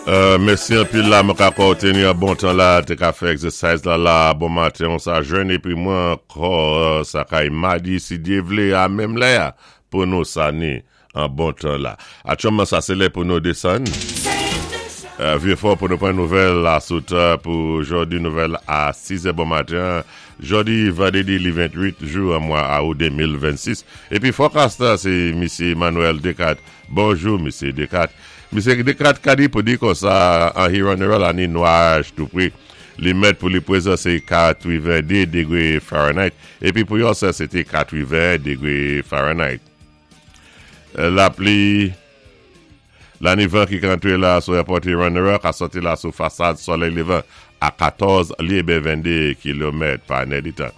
Mèsi anpil la mwen ka kwè ou te ni an bon tan la te ka fè exercise la la bon maten on sa jwenn epi mwen ankò sa kay madi si Dye vle a menm lè a pou nou sa ni an bon tan la atyèlman sa se lè pou nou desann vye fò pou nou pran nouvèl la sou tan pou jodi nouvèl a 6 è bon maten jodi vandredi li 28 jou an mwa aou 2026 epi forecast la se misye Emmanuel Descartes Bonjou Misye Descartes. Misye Descartes ka di pou di konsa an Huron-Earl a ni nwaj tou pre. Li mèt pou li prezan se 82 degre Fahrenheit epi pou yon sè se te 81 degre Fahrenheit. Lapli la ni van ki ka antre la sou èpòt Huron-Earl ka sòti la sou fasad solèy levan a 14 lye ben 22 kilomèt pa nèditan.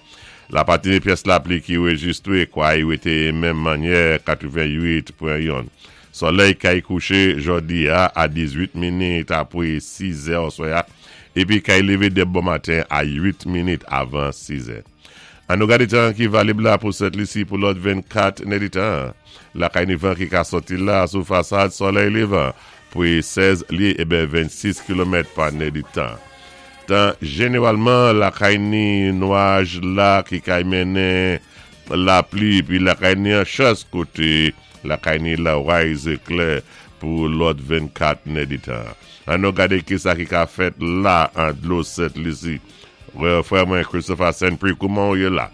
La patine pyès lapli ki rejistre kway rete menm mannyè 88 pwen yon. Solèy kay kouche jòdi a a 18 minit apre 6 zè oswè a epi kay leve dè bon maten a 8 minit avan 6 zè. An nou gade tan ki valib la pou Sent Lisi pou lòt 24 nèditan. Lakay ni van ki ka sòti la sou fasad solèy levan pre 16 lye eben 26 kilomèt pa nèditan. Tan jeneralman lakay ni nwaj la ki kay mennen lapli epi lakay ni an chans kote lakay ni loray zeklè pou lòt 24 nèditan. An nou gade kisa ki ka fèt la an dlo Sent Lisi. Frè mwen Christopher Saint-Prix kouman ou ye la?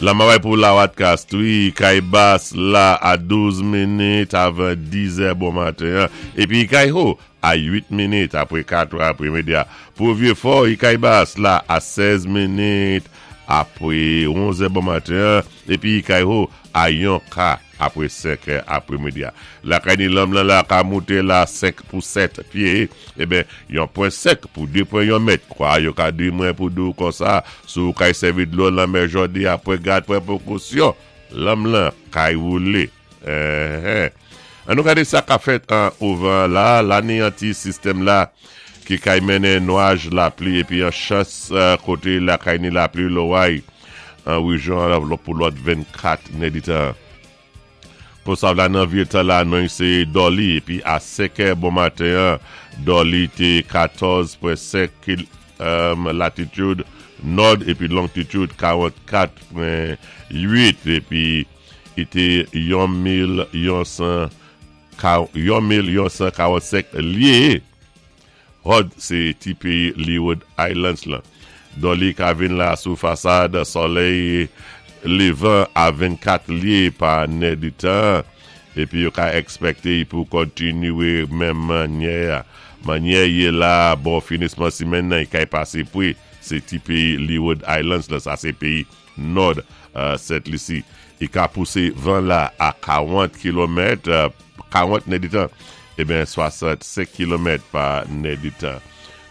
Lamaway pou Lawatkas wi kay bas la a 12 minit avan 10 zè bon maten an epi kay ho a 8 minit apre 4 è apremidi a. Pou Vyefò, Ikay-Bas la a 16 minit apre 11 è bon maten an, epi Ikay-Ho a yon ka apre 5 è apremidi a. Lakay ni lanm lan la ka moute la 5 pou 7 pye, eben yon pwen 5 pou 2 pwen yon mèt. Kwa yo ka di mwen pou di w konsa, si w kay sèvi dlo lanmè jòdi a pran gad pran prekosyon, lanm lan kay woule. Enhen. An nou gade sa kap fèt an ovan la, la ni an ti sistèm la ki kay mennen nwaj lapli epi an chans kote lakay ni lapli loray an rejyon an pou lòt 24 nèditan. Konsav la nan vye tan la non se Dolly epi a 5 è bon maten an Dolly te 14.5 kil latitude nòd epi longtitude 44.8 epi Li te yon mil yon 1145 lye. Hod se ti peyi Leeward Islands lan. Dolly ka vin la sou fasad solèy levan a 24 lye pa nèditan epi yo ka ekspekte y pou kontinye menm mannyè a. Mannyè ye la bò finisman simèn nan y kay pase pre se ti peyi Leeward Islands lan sa se peyi Nòd Sent Lisi. I ka pouse van la a 40 kilomèt, 40 nèditan, eben 65 kilomèt pa nèditan.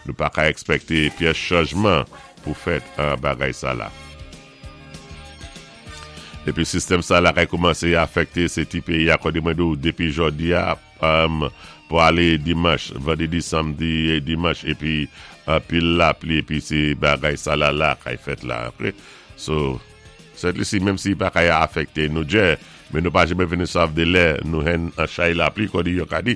Nou pa ka ekspekte pyès chanjman pou fèt an bagay sa la. Epi sistèm sa la kay koumanse afekte se ti peyi a kòde mwen di w depi jòdi a pou ale dimanch, vandredi, samdi, dimanch epi anpil lapli epi se bagay sa la la kay fèt la ok so Sent Lisi menm si pa kay afekte nou djè men nou pa janmen vini sav de lè nou hen an chay lapli kòdi yo ka di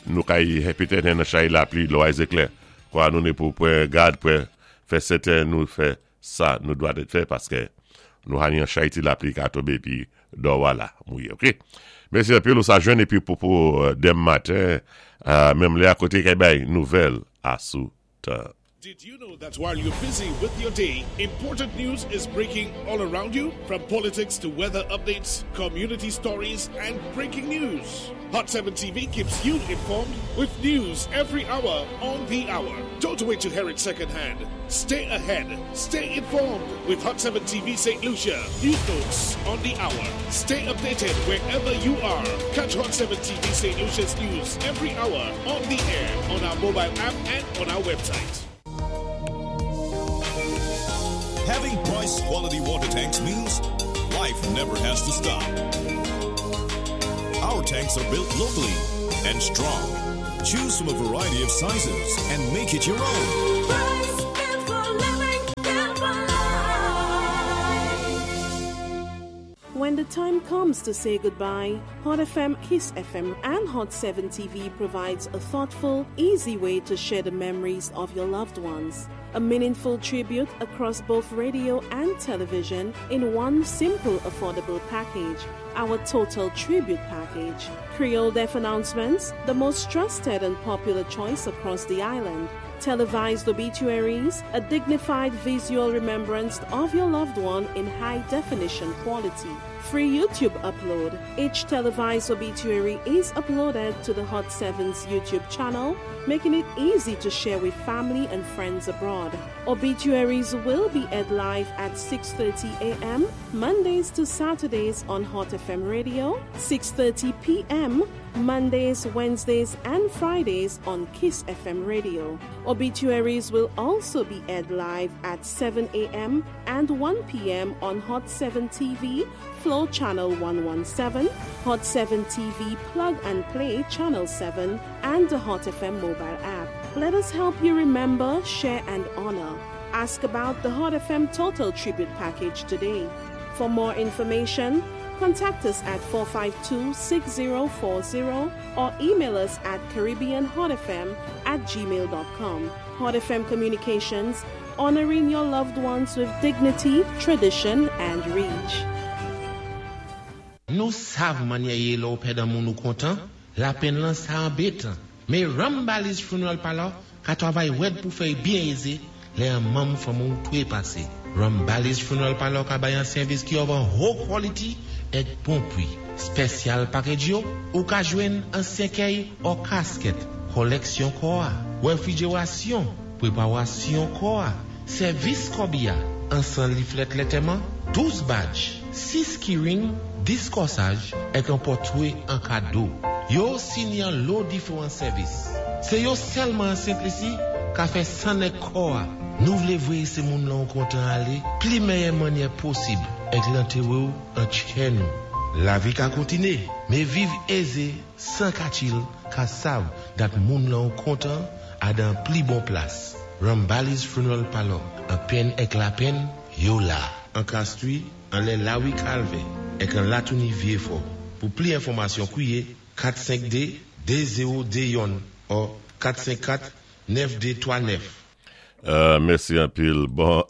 nou kay petèt hen an chay lapli lway zeklè kwa nou ne pou pwen gad pwen fè sèten nou fè sa nou dwa det fè paskè nou ha ni an chay ti lapli ka tonbe epi dò wa la mouye ok mèsi anpil ou sa jwenn epi popo dem maten menm lè a kote kay bay nouvèl a sou tan. Did you know that while you're busy with your day, important news is breaking all around you? From politics to weather updates, community stories, and breaking news. Hot 7 TV keeps you informed with news every hour on the hour. Don't wait to hear it secondhand. Stay ahead. Stay informed with Hot 7 TV St. Lucia. News notes on the hour. Stay updated wherever you are. Catch Hot 7 TV St. Lucia's news every hour on the air, on our mobile app, and on our website. Having Price quality water tanks means life never has to stop. Our tanks are built locally and strong. Choose from a variety of sizes and make it your own. Price, built for living, built for life. When the the time comes to say goodbye, Hot FM, Kiss FM, and Hot 7 TV provides a thoughtful, easy way to share the memories of your loved ones. A meaningful tribute across both radio and television in one simple, affordable package. Our Total Tribute Package. Creole Death Announcements, the most trusted and popular choice across the island. Televised obituaries, a dignified visual remembrance of your loved one in high definition quality. Free YouTube upload. Each televised obituary is uploaded to the Hot 7's YouTube channel, making it easy to share with family and friends abroad. Obituaries will be aired live at 6:30 a.m. Mondays to Saturdays on Hot FM Radio, 6:30 p.m. Mondays, Wednesdays, and Fridays on Kiss FM Radio. Obituaries will also be aired live at 7 a.m. and 1 p.m. on Hot 7 TV, Flow Channel 117, Hot 7 TV Plug and Play Channel 7, and the Hot FM mobile app. Let us help you remember, share, and honor. Ask about the Hot FM Total Tribute Package today. For more information, contact us at 452-6040 or email us at caribbeanhotfm@gmail.com. Hot FM Communications, honoring your loved ones with dignity, tradition, and reach. Nou sav mannyè yé lè-w pèd an moun ou kontan, lapenn lan sa anbétan. Mé Rambali's Funeral Parlor ka twavay wèd pou fè-y byen ézé lè an manm fanmi-w twé pasé. Rambali's Funeral Parlor ka bay an sèvis ki of an ho quality èk bon pwi. Special package yo, ou ka jwenn an sèkèy or casket, kòlèksyon kò-a, wèfwijérasyon, pwépawasyon kò-a, sèvis kòbiya, an 100 leaflet lètèman, 12 badge, 6 keyring, 10 kòsaj, èk an pòtwé an kado. Yo sini an lo diféwan sèvis. Sé yo sèlman an Sent Lisi ka fè sann èk kò-a. Nou vlé vwéyé sé moun lan ou kontan alé pli mèyè mannyè posib èk lantéwé-w an tchè nou. Lavi ka kontiné, mé viv ézé 100 ka chill ka sav dat moun lan ou kontan a dan pli bon plas. Rambali's Funeral Parlor, an penn èk lapenn, yo la. An Castries, anlè Lawi Calvin, èk an Latouni Vieux-Fort. Pou pli enfòmasyon kwiyé 452 2021 or 454 9239. Mèsi anpil. Bon,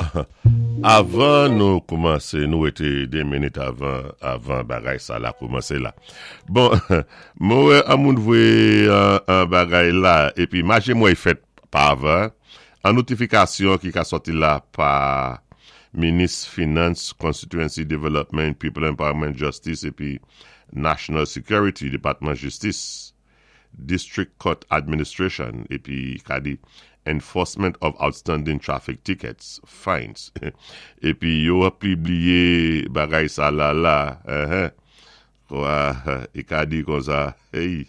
avan nou koumansé, nou wété 2 minit avan bagay sa la koumansé la. Bon, mwen wè an moun voyé an bagay la, épi maje mwen fèt pa avan, an notifikasyon ki ka sòti la pa Minis Finance, Constituency Development, People Empowerment, Justice épi National Security, Depatman Jistis, District Court Administration, épi ka di Enforcement of Outstanding Traffic Tickets, Fines. Épi yo ap pibliyé bagay sa la la, kwa, i ka di kon sa, hey,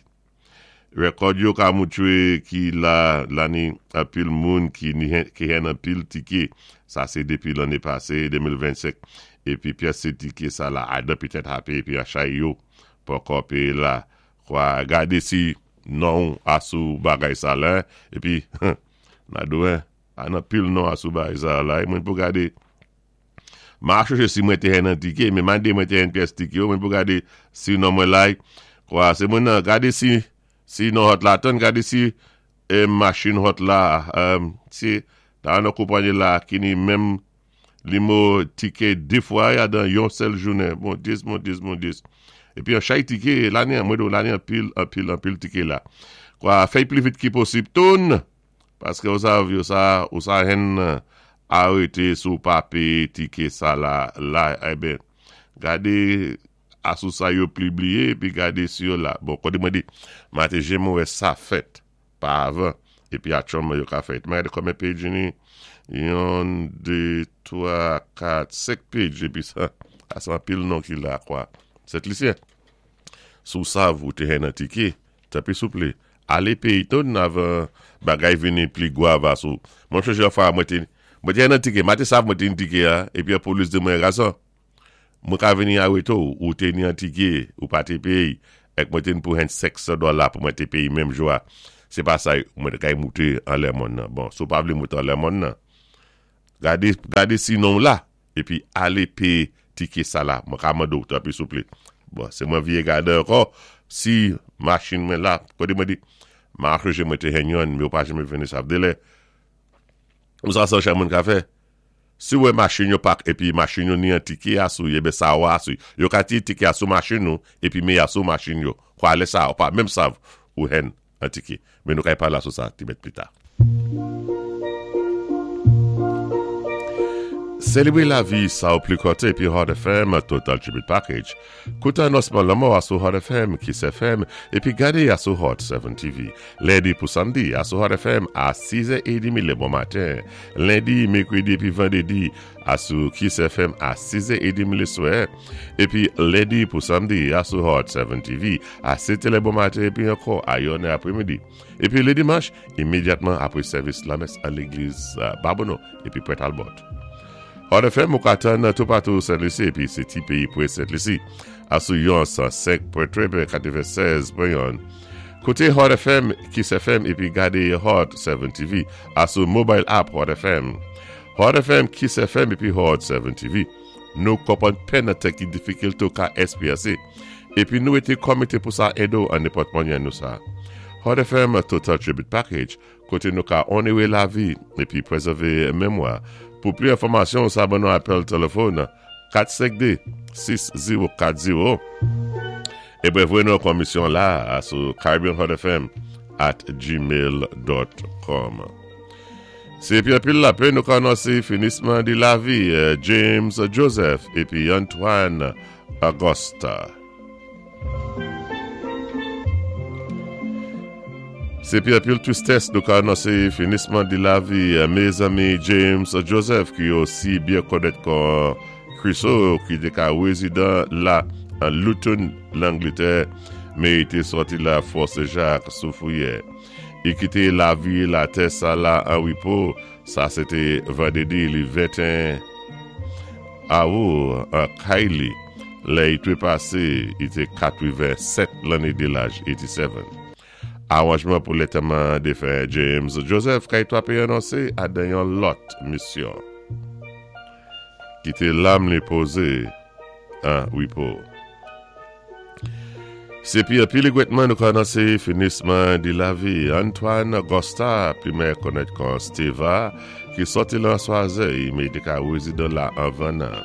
rekòd yo ka moutwé ki la lani anpil moun ki ki hen anpil tiké, sa sé dépi lanné pasé, 2025, épi pyès sé tiké sa la, adan petèt hape, épi achay yo poko péyé la, kwa gadé si non asou bagay sa la, épi, nadou an anpil non asou bagay sa la, mwen pou gadé, ma chèché si mwen té hen an tiké, mé mandé mwen té hen pyès tiké yo, mwen pou gadé si non mwen lay, kwa sé mwen nan, gadé si non hot la, tan gadé si machin hot la, si ta an konpanyi la ki ni menm limo tiké 2 fwa ya dan yon sèl jounen, bon dis, bon dis, bon dis. Épi an chay tiké, lani an, mwen do lani an pil, an pil, an pil tiké la. Kwa, fèy pli vit ki posib, toun, paské ou sav yo sa, ou sa hen arété sou pa péyé tiké sa la, la, eh ben, gadé asou sa yo pibliyé, épi gadé si yo la. Bon, koté mwen di, maté jé mwen wè sa fèt, pa avan, épi atchòman yo ka fèt. Mwen gadé konbyen page ni? 1, 2, 3, 4, 5 page, épi sa, sa anpil non ki la, kwa. Sent Lisyen. Sou sav ou té hen an tiké, tanpri souplé, alé péyé toun avan bagay vini pli gwav asou. Mwen chonjé an fwa, mwen té hen an tiké, ma té sav mwen té ni tiké a, épi an polis di mwen gason, mwen ka vini arété ou, ou té ni an tiké, ou pa té péyé, èk mwen té ni pou hen 500 dola pou mwen té péyé menm jou a. Sé pa sa mwen té kay mouté anlè mòn nan. Bon, sou pa vlé mouté anlè mòn nan. Gadé si non la, épi alé péyé. Tiké sa la, mwen ka mande ou tanpri souplé. Bon, sé mwen viyé gade ankò, si machin mwen la, koté mwen di, ma acheje mwen té jwenn yonn, mé yo pa janmen vini sa vdé lè. Ou sa sa chè moun ka fè? Si ou wè machin yo pak épi machin yo ni an tiké a sou, eben sa ou a sou. Yo ka tiye tiké a sou machin ou épi mé a sou machin yo. Kwa lè sa ou pa menm sav ou jwenn an tiké. Men nou kay pala sou sa ti mèt plita. Selebre lavi sa ou pli kòte epi Hot FM Total Tribute Package. Koute anonsman lanmò a sou Hot FM, Kiss FM, epi gade a sou Hot 7 TV. Lendi pou Samdi a sou Hot FM a 6 è edemi le bon maten. Lendi, Mekredi epi Vandredi a sou Kiss FM a 6 è edemi le swè. Epi Lendi pou Samdi a sou Hot 7 TV a 7 è le bon maten epi ankò a 1 è apremidi. Epi le dimanch, imedyatman apre sèvis lamès an legliz Babonneau epi Pwent Albòt. Hot FM ou ka tann toupatou Sent Lisi epi se ti peyi pre Sent Lisi a sou yon 105 pwen 3 96 pwen 1. Koute Hot FM, Kiss FM epi gade Hot 7 TV a sou mobile app Hot FM. Hot FM, Kiss FM epi Hot 7 TV. Nou konprann pèn nan tan ki difikilte ou ka esperyanse epi nou rete kòmite pou sa ede w an nenpòt manyè nou sa. Hot FM Total Tribute Package kote nou ka onere lavi epi prezève memwa. Pou pli enfòmasyon sa ban nou apèl telefòn 452 6040 e brè voye nou komisyon la a sou caribbeanhotfm at gmail dot com. Se epi anpil lapè nou ka anonse finisman di lavi James Joseph epi Antoine Augusta. Se pi anpil tristès nou ka anonse finisman di lavi mezanmi James Joseph ki osi byen konèt kon Chriso ki te ka rezidan la an Luton Langletè men li te sòti la Fort Sen Jak sou Fouyè. Li kite lavi latè sa la an repo Sa se te vandredi li 21 Awou an kay li lè i trepase i te 87 lanne de laj 87. Aranjman pou lentèman defen James Joseph kay 3 pe anonse a dan yon lòt misyon. Kite lam li poze an repo. Se pi anpil regwètman nou ka anonse finisman di lavi Antoine Augusta, pi mè konèt kon Steva, ki sòti lan Swazèy, men te ka rezidan la anvan nan.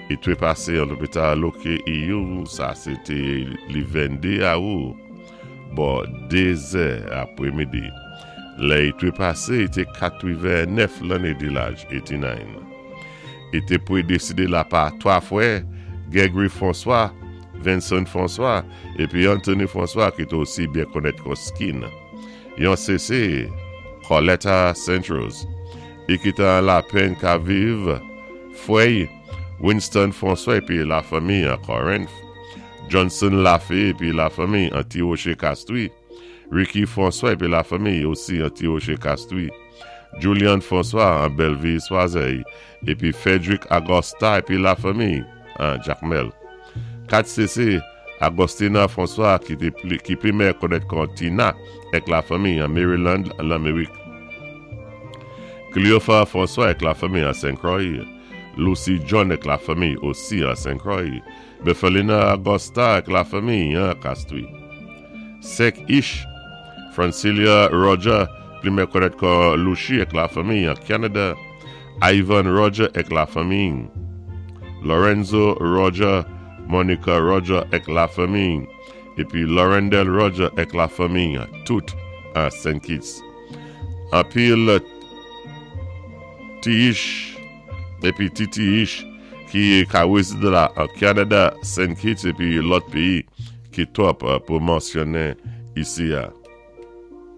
I trepase an lopital Loke Iyou, sa se te li 22 awou, bò 2 zè apremidi. Lè i trepase, i te 89 lanne di laj, 89. I te predeside la pa 3 frè, Gregory François, Vincent François, epi Anthony François ki te osi byen konèt kon Skin. Yon CC, Coletta Saint-Rose. I ki te an lapenn ka viv, frè y, Winston François epi lafanmi an Corinth, Johnson Laffey epi lafanmi an Ti Roche Castries, Ricky François epi lafanmi osi an Ti Roche Castries, Julian François an Belleville Swazèy epi Frederick Agosta epi lafanmi an Jakmèl. 4 CC, Agostina François ki te ki pi mè konèt kon Tina èk lafanmi an Maryland Lanmerik. Cleopha François èk lafanmi an Sen Croix, Lucy John èk lafanmi osi an Sen Croix, Berthelina Agosta èk lafanmi an Castries. 5 ish, Francilia Roger, pli mè konèt kon Lucie èk lafanmi an Canada, Ivan Roger èk lafanmi, Lorenzo Roger, Monica Roger èk lafanmi, epi Laurendel Roger èk lafanmi, tout an Saint Kitts. Anpil ti ish epi ti ti ish ki ka rezide la an Canada, Saint Kitts epi lòt peyi ki twòp pou mansyonnen isi a.